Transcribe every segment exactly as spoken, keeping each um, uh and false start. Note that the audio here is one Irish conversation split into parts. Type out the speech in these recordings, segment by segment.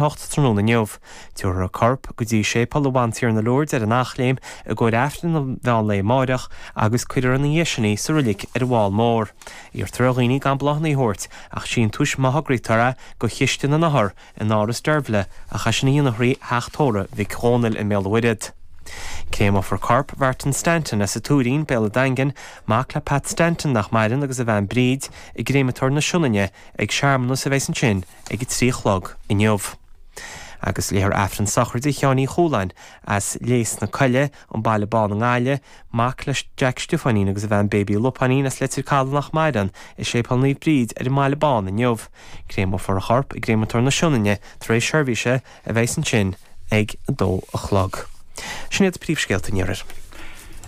hocht tráthnóna inniu. Tabharfar a corp go dtí Séipéal Bhantiarna Lourdes ar an Eachléim i gcomhair Aifreann an mheán lae amáireach agus cuirfear ina dhiaidh sin í sa reilig ar an bhFál Mór. Iarrtar ar dhaoine gan bláthanna a thabhairt ach síntiúis má thograítear é go Chiste na nOthar in Áras Deirbhile ach é sin a dhéanamh thrí Theach Tórraimh Mhic Dhónaill i mBéal an Mhuirthead. Créamófar corp Mhartin Stanton as an Tuairín, Béal an Daingin, mac le Pat Stanton nach maireann agus a bhean Bríd, i gcréamatóir na Sionainne ag searmanas a bheas ansin ag a trí a chlog inniu. Agus léifear Aifreann sochraide Sheáin Uí Chualáin as Léas na Coille, an Baile Bán i nGaillimh, mac le Jack Stiofáinín agus a bhean Baby Lupáinín as Leitir Caladh nach maireann, i Séipéal Naomh Bríd ar an mBaile Bán inniu. Créamófar a chorp i gcréamatóir na Sionainne tar éis seirbhíse a bheas ansin ag a dó a chlog. Sin iad príomhscéalta an iarthair.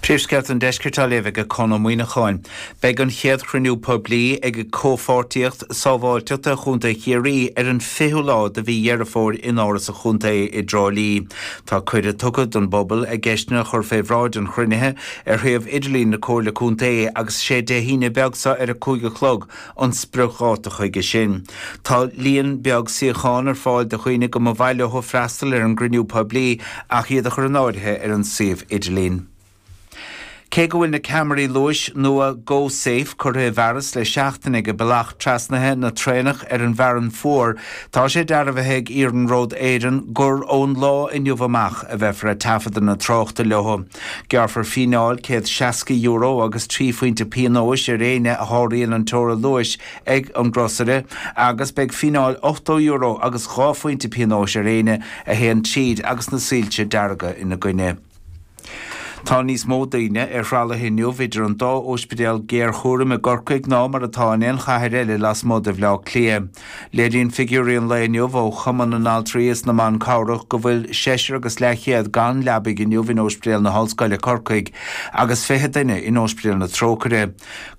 Príomhscéalta an Deiscirt á léamh ag Conn Ó Muíneacháin. Beidh an chéad chruinniú poiblí ag Comhpháirtíocht Sábháilteachta Chontae Chiarraí ar an fichiú lá de mhí Dheireadh Fómhair in Áras an Chontae i dTrá Lí. Tá cuireadh tugtha don bpobal a gceisteanna a chur fé bhráid an chruinnithe ar shuíomh idirlín na Comhairle Contae agus is é Dé hAoine beag seo ar a cúig a chlog an spriocdháta chuige sin. Tá líon beag suíochán ar fáil do dhaoine go mba mhaith leo freastal ar an gcruinniú poiblí ach iad a chur in áirithe ar an suíomh idirlín. Cé go bhfuil na ceamaraí luais nua GoSafe curtha i bhfearas le seachtain ag bealach trasnaithe na traenach ar an bhFearann Fuar, tá sé dearbhaithe ag Iarnród Éireann gur ón lá inniu amach a bheifear ag taifeadadh na tráchta leo. Gearrfar fíneáil céad seasca euro agus trí phointe pionóis ar éinne a sháraíonn an teora luais ag an gcrosaire agus beidh fíneáil ochtó euro agus dhá phointe pionóis ar éinne a théann tríd agus na soilse dearga ina gcoinne. Tá níos mó daoine ar thralaithe inniu idir an dá ospidéal géarchúraim i gCorcaigh ná mar atá in aon chathair eile lasmuigh de Bhaile Átha Cliath. Léiríonn figiúirí an lae inniu ó Chumann na nAltraí is na mBan Cabhrach go bhfuil seisear agus leathchéad gan leabaidh inniu in Ospidéal na hOllscoile Corcaigh agus fiche duine in Ospidéal na Trócaire.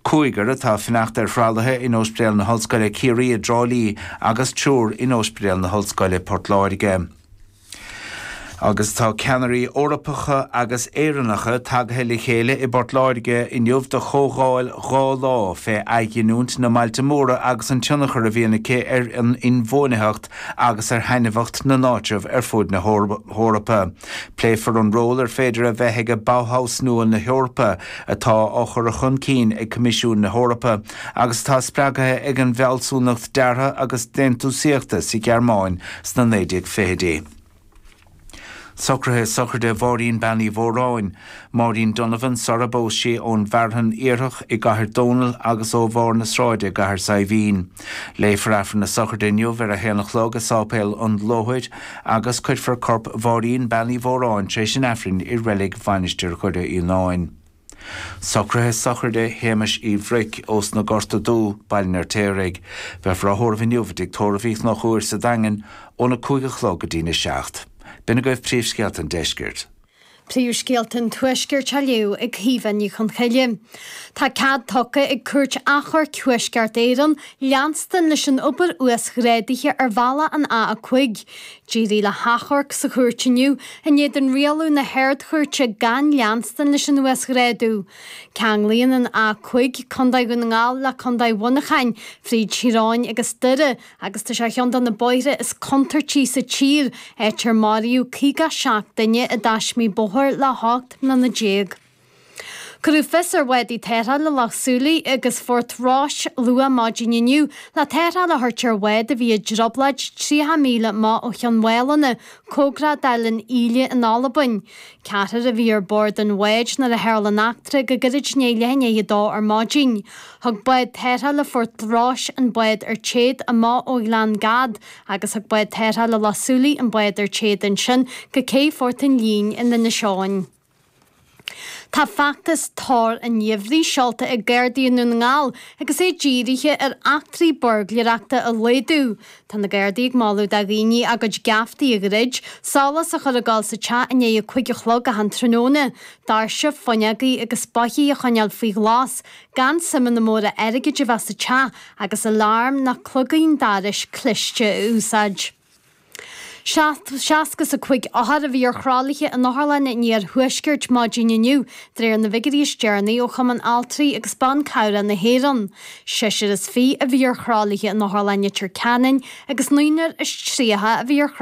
Cúigear atá ag fanacht ar thralaithe in Ospidéal na hOllscoile Ciarraí i dTrá Lí agus triúr in Ospidéal na hOllscoile Port Láirge. Agus tá ceannairí Eorpacha agus Éireannacha tagaithe le chéile i bPort Láirge inniu do chomhdháil dhá lá fé athghiniúint na mbailte móra agus an tionchar a bhíonn aici ar an inbhuanaitheacht agus ar thaitneamhacht na n-áitreabh ar fud na hEorpa. Pléifear an ról ar féidir a bheith ag Bauhaus nua na hEorpa atá á chur chun cinn ag Coimisiún na hEorpa agus atá spreagtha ag an bhfealsúnacht deartha agus déantúsaíochta sa Ghearmáin sna naoi déag fichidí. Socruithe sochraide Mháirín Bean Uí Mhóráin, Máirín Donovan, sara bpós sí ón bhFearthainn Iarthach i gCathair Dónall agus ó Bharr na Sráide i gCathair Saidhbhín. Léifear Aifreann na sochraide inniu ar a haon a chlog i Sáipéal an Lóthair agus cuirfear corp Mháirín Bean Uí Mhóráin tar éis an Aifrinn i Reilig Mhainistir Dhoire Fhíonáin. Socruithe sochraide Shéamais Uí Bhruic ós na Gorta Dubh, Baile an Fheirtéaraigh. Beifear á thórramh inniu i dTigh Tórraimh Uí Chonchúir sa Daingean óna cúig a chlog go dtína seacht. B'in agaibh príomhscéalta an deiscirt. Príomhscéalta an Tuaiscirt á léamh ag Caoimhe Ní Chonchoille. Tá cead tugtha ag Cúirt Achomhairc Thuaisceart Éireann leanstan leis an obair uasghrádaithe ar bhealach an A a cúig. D'éirigh le hachomharc sa chúirt inniu in éadan rialú na hArd-Chúirte gan leanstan leis an uasghrádú. Ceanglaíonn an A cúig Contae Dhún na nGall le Contae Mhuineacháin, fríd Tír Eoghain agus Doire, agus tá sé ar cheann de na bóithre is contúirtí sa tír, áit ar maraíodh caoga seacht duine i dtaismí bóthair le hocht mbliana déag. Cuireadh fios ar bhádaí tarrthála Loch Súilí agus Phort Rois luath maidin inniu le tarrtháil a thabhairt ar bhád a bhí i dtrioblóid tríocha míle amach ó Chionn Mhálanna, cóngarach d'Eilean Ìle in Albain. Ceathrar a bhí ar bord an bháid nuair a tharla an eachtra go gairid i ndiaidh leath i ndiaidh a dó ar maidin. Thug bád tarrthála Phort Rois an bád ar téad amach ó Ghleann Gad agus thug bád tarrthála Loch Súilí an bád ar téad ansin go cé Phort an Lín in Inis Eoghain. Tá feachtas Tor an Gheimhridh seolta ag Gardaí i nDún na nGall agus é dírithe ar eachtraí buirgléireachta a laghdú. Tá na Gardaí ag moladh do dhaoine a gcuid geaftaí a dhruid, solas a chur ag gol sa teach i ndiaidh a cúig a chlog achan tráthnóna, doirse, fuinneogaí agus boithigh a choinneáil faoi ghlas, gan suimeanna móra airgid a bheith sa teach agus alarm nó cloigín dorais cliste a úsáid. Seasca is a cúig othar a bhí ar thralaithe in Otharlann an Iarthuaiscirt maidin inniu, de réir na bhfigiúirí is deireanaí ó Chumann Altraí agus Ban Cabhrach na hÉireann. Seisear is fiche a bhí ar thralaithe in Otharlann Leitir Ceanainn agus naonúr is tríocha a bhí ar